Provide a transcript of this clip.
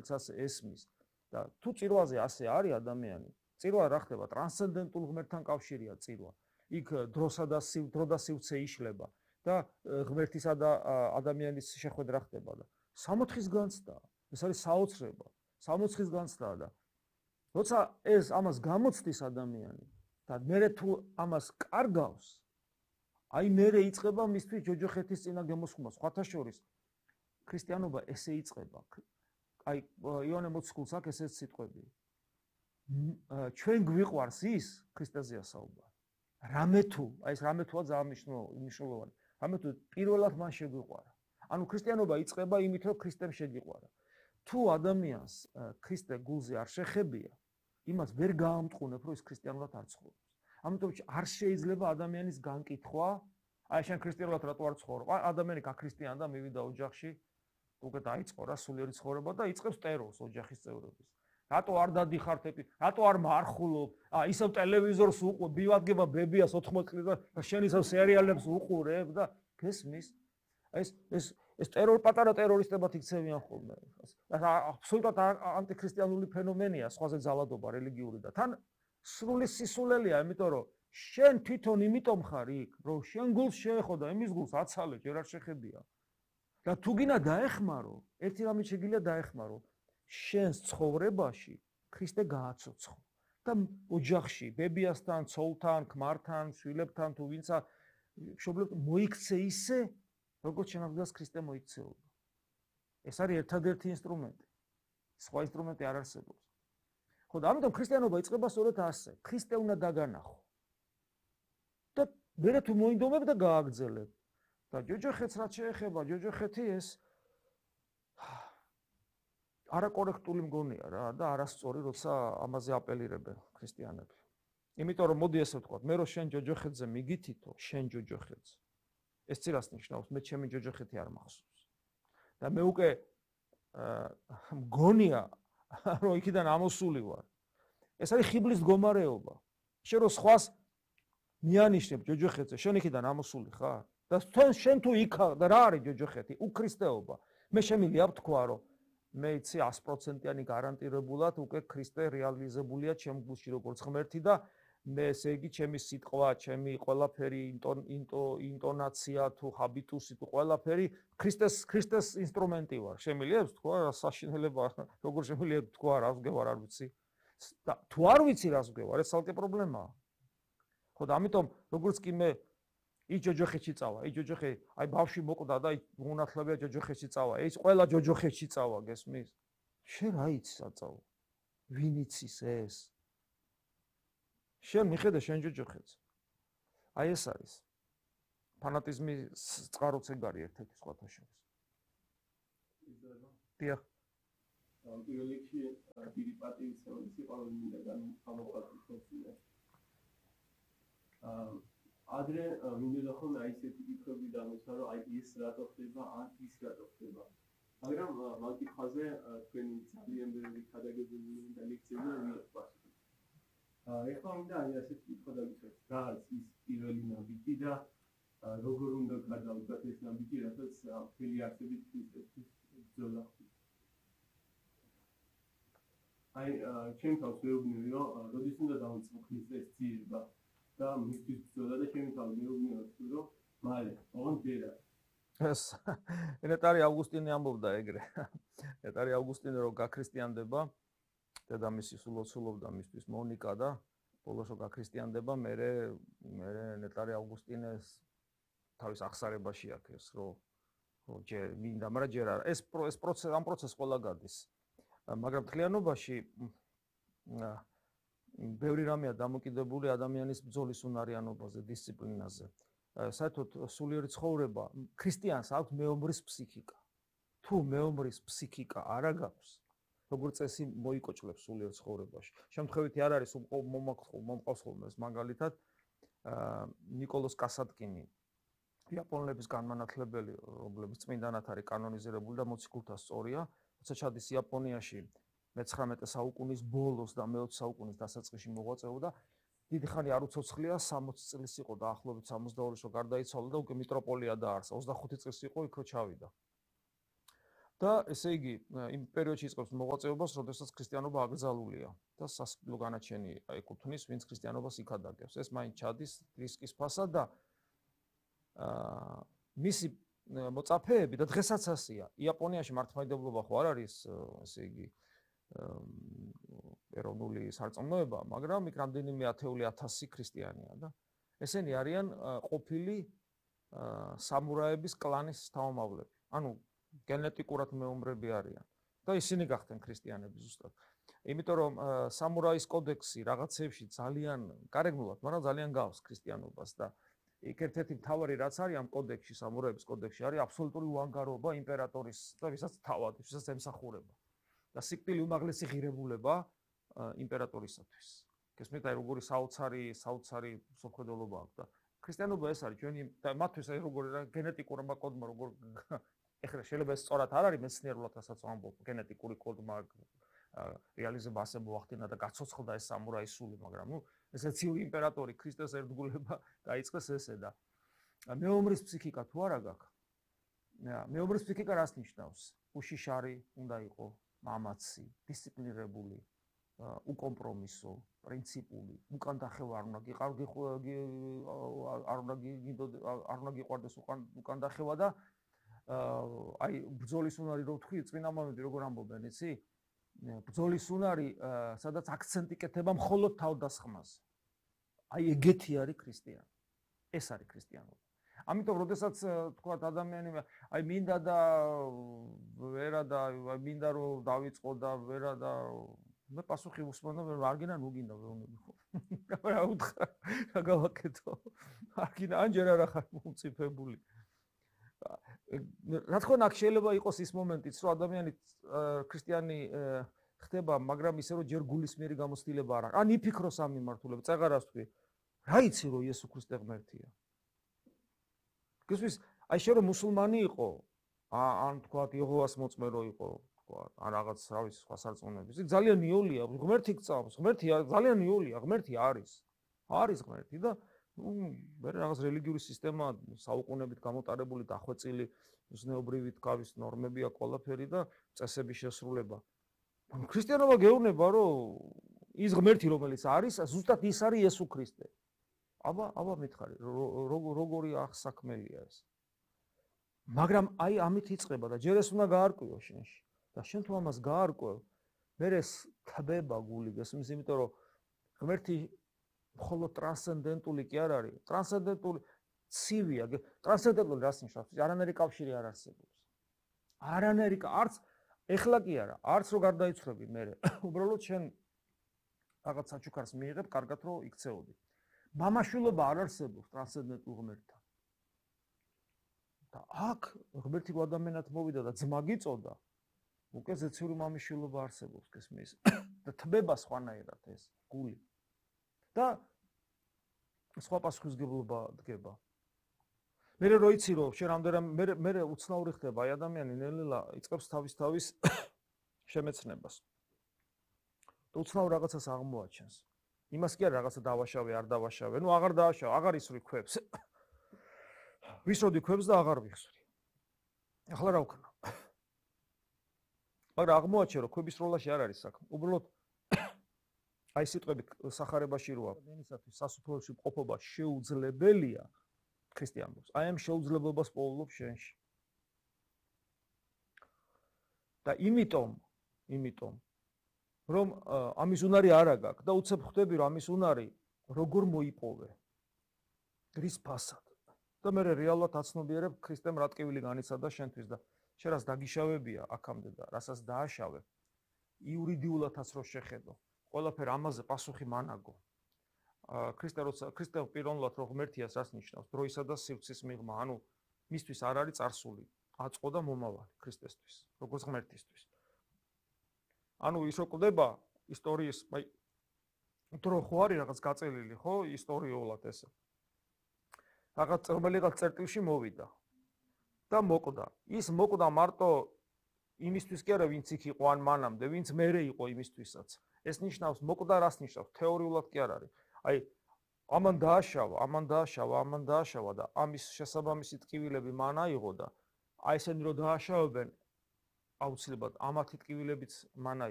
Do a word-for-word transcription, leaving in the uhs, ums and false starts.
რომელიც ასე ესმის და თუ წირვაზე ასე არის ადამიანი, წირვა რა ხდება? ტრანსცენდენტულ ღმერთთან კავშირია წირვა. იქ დროსა და დრო და სივრცე იშლება და ღმერთისა და ადამიანის შეხვედრა ხდება და სამოთხის განცდა. ეს არის საოცრება, სამოთხის განცდა და როცა ეს ამას გამოცდის ადამიანი და მერე თუ ამას კარგავს, აი მერე იწყება მისთვის ჯოჯოხეთის წინა გემოსხმა. სხვათა შორის ქრისტიანობა ესე იწყება. აი იოანე მოციქულს აქვს ესეც სიტყვები. ჩვენ გვიყვარს ის ქრისტეზეა საუბარი. რამე თუ, აი ეს რამე თუა ძალიან მნიშვნელოვანი. რამე თუ პირველად მან შეგვიყვარა. ანუ ქრისტიანობა იწყება იმით, რომ ქრისტემ შეგიყვარა. თუ ადამიანს ქრისტე გულზე არ შეხებია, იმას ვერ გაამტყუნებ, რომ ის ქრისტიანულად არ ცხოვრობს. ამიტომ არ შეიძლება ადამიანის განკითხვა, აი შენ ქრისტიანულად რატო არ ცხოვრობ? ადამიანი გაქრისტიანდა და მივიდა ოჯახში, უკვე დაიწყო რა სულიერი ცხოვრება და იწყებს ტერორს ოჯახის წევრების. რატო არ დადიხართ ეპი? რატო არ მარხულობ? აა ისევ ტელევიზორს უყურებ, ბივადგება ბებიას ოთხმოცი წლის და შენ ისევ სერიალებს უყურებ და გესმის? ეს ეს ეს ტერორ პატარა ტერორისტებად იქცევიან ხოლმე. აბსოლუტურად ანტიქრისტიანული ფენომენია, სხვაზე ძალადობა რელიგიური და თან სრული სისულელია, იმიტომ რომ შენ თვითონ იმიტომ ხარ იქ, რომ შენ გულს შეეხო და იმის გულს აცალე, ჯერ არ შეხებია. და თუ გინდა დაეხმარო, ერთი რამე შეგიძლია დაეხმარო, შენს ცხოვრებაში ქრისტე გააცოცხლო და ოჯახში, ბებიასთან, ცოლთან, ქმართან, შვილებთან თუ ვინცა მშობლებთან მოიქცე ისე, როგორც შენაგდას ქრისტე მოიქცეოდა. ეს არის ერთადერთი ინსტრუმენტი. სხვა ინსტრუმენტი არ არსებობს. ხო და ამიტომ ქრისტიანობა იწყება სწორედ ასე. ქრისტე უნდა დაგანახო. და მერე თუ მოინდომებ და გააგრძელებ. და ჯოჯოხეთს რაც შეეხება, ჯოჯოხეთი ეს არაკორექტული მგონია რა და არასწორი, როცა ამაზე აპელირებენ ქრისტიანები. იმიტომ რომ მოდი ესე ვთქვათ, მე რო შენ ჯოჯოხეთზე მიგითითო, შენ ჯოჯოხეთზე. ეს ცირას ნიშნავს, მე ჩემი ჯოჯოხეთი არ მახსოვს. და მე უკვე მგონია, რომ იქიდან ამოსული ვარ. ეს არის ხიბლის მდგომარეობა. შენ რო სხვას მიანიშნებ ჯოჯოხეთზე, შენ იქიდან ამოსული ხარ? და შენ თუ იქ და რა არის ჯოჯოხეთი? უქრისტეობა. მე შემიძლია ვთქვა, რომ მე იცი ას პროცენტიანი გარანტირებულად უკვე ქრისტე რეალიზებულია ჩემ გულში როგორც ღმერთი და მე ესე იგი ჩემი სიტყვა, ჩემი ყველაფერი ინტონაცია თუ ჰაბიტუსი თუ ყველაფერი ქრისტეს ქრისტეს ინსტრუმენტი ვარ. შემიძლია ვთქვა, საშინელება როგორ შემიძლია ვთქვა, რას ვგევარ, არ ვიცი. და თუ არ ვიცი რას ვგევარ, ეს ცალკე პრობლემაა. ხო და ამიტომ როგორც კი მე ის ჯოჯოხეთში წავა, ის ჯოჯოხე, აი ბავშვი მოკვდა და უნათლებია ჯოჯოხეთში წავა. ეს ყველა ჯოჯოხეთში წავა, გესმის? შენ რა იცი საწავო? ვინ იცის ეს? შენ მიხედე შენ ჯოჯოხეთს. აი ეს არის. ფანატიზმი წყაროც ეგ არის ერთ-ერთი სხვათა შორის. დიახ. პირველ რიგში დიდი პატივისცემის სიყვარული მინდა გამოყვანილ. აა ადრე მინდოდა ხოლმე აი ესეთი კითხვები დამეცა, რომ აი ის რატო ხდება, ან ის რატო ხდება. მაგრამ მაგ კითხვაზე თქვენი ძალიან ბევრი ქადაგებული და ლექციები მიიღწევთ. აა ეხლა მინდა აი ასეთი კითხვა დაგიწყოთ. რა არის ის პირველი ნაბიჯი და როგორ უნდა გადავდგათ ეს ნაბიჯი, რასაც მთელი არსებით ქრისტესთვის ბრძოლა ხდება. აი ჩემ თავს ვეუბნები, რომ როდის უნდა დავიწყო ქრისტეს ძიება და მისთვის ბრძოლა და ჩემი თავი მეუბნები, რომ მალე, ოღონდ ჯერა. ეს ნეტარი ავგუსტინე ამბობდა ეგრე. ნეტარი ავგუსტინე რომ გაქრისტიანდება, დედამისი სულოცულობდა მისთვის მონიკა და ბოლოს რომ გაქრისტიანდება, მერე მერე ნეტარი ავგუსტინეს თავის აღსარებაში აქეს, რომ რომ ჯერ მინდა, მაგრამ ჯერ არა. ეს ეს პროცესი, ამ პროცესს ყველა გადის. მაგრამ თლიანობაში ბევრი რამეა დამოკიდებული ადამიანის ბრძოლის უნარიანობაზე, დისციპლინაზე. საერთოდ სულიერი ცხოვრება ქრისტიანს აქვს მეომრის ფსიქიკა. თუ მეომრის ფსიქიკა არ აქვს, როგორც წესი მოიკოჭლებს სულიერ ცხოვრებაში. შემთხვევითი არ არის მომყავს ხოლმე ეს მაგალითად ნიკოლოს კასატკინი, იაპონელების განმანათლებელი, რომლებიც წმინდანად არის კანონიზირებული და მოციქულთა სწორია, როცა ჩადის იაპონიაში მეცხრამეტე საუკუნის ბოლოს და მეოცე საუკუნის დასაწყისში მოღვაწეობდა. დიდი ხანი არ უცოცხლია, სამოცი წლის იყო დაახლოებით სამოცდაორი რო გარდაიცვალა და უკვე მიტროპოლია დაარსა. ოცდახუთი წლის იყო იქ რო ჩავიდა. და ესე იგი იმ პერიოდში იწყებს მოღვაწეობას, როდესაც ქრისტიანობა აკრძალულია და სასიკვდილო განაჩენი ეკუთვნის, ვინც ქრისტიანობას იქადაგებს. ეს მაინც ჩადის რისკის ფასად და აა მისი მოწაფეები და დღესაც ასია. იაპონიაში მართლმადიდებლობა ხო არ არის, ესე იგი ეროვნული სარწმუნოება, მაგრამ იქ რამდენიმე ათეული ათასი ქრისტიანია და ესენი არიან ყოფილი სამურაების კლანის თავმოყრალები. ანუ გენეტიკურად მეომრები არიან და ისინი გახდნენ ქრისტიანები ზუსტად. იმიტომ რომ სამურაის კოდექსი რაღაცებში ძალიან გარეგნულად, მაგრამ ძალიან გავს ქრისტიანობას და იქ ერთ-ერთი მთავარი რაც არის ამ კოდექსში, სამურაების კოდექსში არის აბსოლუტური უანგარობა იმპერატორის და ვისაც თავად, ვისაც ემსახურება. და სიკვდილი უმაღლესი ღირებულება იმპერატორისათვის. გესმით, აი როგორი საოცარი, საოცარი სოფხედელობა აქვს და ქრისტიანობა ეს არის ჩვენი და მათთვის აი როგორი რა გენეტიკურმა კოდმა როგორ ეხლა შეიძლება ეს სწორად არ არის მეცნიერულად რასაც ვამბობ, გენეტიკური კოდმა რეალიზება ასე მოახდინა და გაცოცხლდა ეს სამურაის სული, მაგრამ ნუ ესე ცივი იმპერატორი ქრისტეს ერთგულება დაიწყეს ესე და მეომრის ფსიქიკა თუ არა გაქვს? მეომრის ფსიქიკა რას ნიშნავს? უშიშარი უნდა იყოს, მამაცი, დისციპლინირებული, უკომპრომისო, პრინციპული, უკან დახევა არ უნდა გიყარგი არ უნდა არ უნდა გიყვარდეს უკან დახევა და აი ბრძოლის უნარი რო თქვი, წინა მომენტი როგორ ამბობენ, იცი? ბრძოლის უნარი, სადაც აქცენტი კეთება მხოლოდ თავდასხმაზე. აი ეგეთი არის ქრისტიანი. ეს არის ქრისტიანობა. ამიტომ როდესაც თქვა ადამიანი აი მინდა და ვერა და აი მინდა რომ დავიწყო და ვერა და მე პასუხი უსმენდა არ გინდა ნუ გინდა ვეუბნები ხო რა უთხრა რა გავაკეთო არ გინდა ანჯერ არა ხარ მომწიფებული რა თქმა უნდა შეიძლება იყოს ის მომენტიც რომ ადამიანი ქრისტიანი ხდება მაგრამ ისე რომ ჯერ გულისმიერი გამოცდილება არ აქვს ან იფიქროს ამ მიმართულებით წეღარას თქვი რა იცი რომ იესო ქრისტე ღმერთია გესმის აი შე რომ მუსულმანი იყო ან თქვა იეჰოვას მოწმე რო იყო თქვა ან რაღაც რა ვიცი სხვა სარწმუნოების ის ძალიან იოლია ღმერთი გწავს ღმერთი ძალიან იოლია ღმერთი არის არის ღმერთი და ნუ მე რაღაც რელიგიური სისტემა საუკუნეებით გამოტარებული დახვეწილი ზნეობრივი თქავის ნორმები აქვს ყველაფერი და წესების შესრულება ქრისტიანობა გეუბნება რომ ის ღმერთი რომელიც არის ზუსტად ის არის იესო ქრისტე აბა აბა მითხარი როგორი ახსაქმელია ეს მაგრამ აი ამით იწყება და ჯერ ეს უნდა გაარკვიო შენში და შენ თუ ამას გაარკვევ მე ეს თბება გული გესმის იმიტომ რომ ღმერთი მხოლოდ ტრანსცენდენტული კი არ არის ტრანსცენდენტული ცივია ტრანსცენდენტული რას ნიშნავს არანაირი კავშირი არ არსებობს არანაირი არც ეხლა კი არა არც რო გარდაიცვლები მე უბრალოდ შენ რაღაც საჩუქარს მიიღებ კარგად რო იქცეოდი მამაშვილობა არ არსებობს ტრანსცენდენტულ ღმერთთან და აქ ღმერთი ადამიანად მოვიდა და ძმა გიწოდა უკვე ზეციური მამაშვილობა არსებობს გესმის და თბება სხვანაირად ეს გული და სხვა პასუხისმგებლობა დგება მე რო იცი რომ შენ რამდენად მე მე უცნაური ხდება აი ადამიანი ნელ-ნელა იწყებს თავის თავის შემეცნებას და უცნაურ რაღაცას აღმოაჩენს იმას კი არ რაღაცა დავაშავე არ დავაშავე ნუ აღარ დააშავე აღარ ისვრი ქვებს ვისროდი ქვებს და აღარ ვიხსვრი ახლა რა ვქნა მაგრამ აღმოაჩენ რომ ქვების როლაში არ არის საქმე უბრალოდ აი სიტყვები სახარებაში როა დენისათვის სასופველში ყოფობა შეუძლებელია ქრისტიანობს აი ამ შეუძლებლობას პოულობ შენში და იმიტომ იმიტომ რომ ამის უნარი არ აქვს და უცებ ხვდები რომ ამის უნარი როგორ მოიპოვე რის ფასად და მე რეალურად აცნობიერებ ქრისტემ რა ტკივილი განიცადა შენთვის და შენ რას დაგიშავებია აქამდე და რასაც დააშავე იურიდიულადაც რო შეხედო ყველაფერ ამაზე პასუხი მანაგო ქრისტე როცა ქრისტე პიროვნულად რო ღმერთიას რას ნიშნავს დროისა და სივრცის მიღმა ანუ მისთვის არ არის წარსული აწყო და მომავალი ქრისტესთვის როგორც ღმერთისთვის ანუ ის რო ყდება ისტორიის აი დრო ხო არის რაღაც გაწელილი ხო ისტორიულად ესე რაღაც რომელიღაც წერტილში მოვიდა და მოკვდა ის მოკვდა მარტო იმისთვის კი არა ვინც იქ იყო ან მანამდე ვინც მერე იყო იმისთვისაც ეს ნიშნავს მოკვდა რას ნიშნავს თეორიულად კი არ არის აი ამან დააშავა ამან დააშავა ამან დააშავა და ამის შესაბამისი ტკივილები მან აიღო და აი ესენი რო დააშავებენ აუცილებლად ამათი ტკივილებიც მან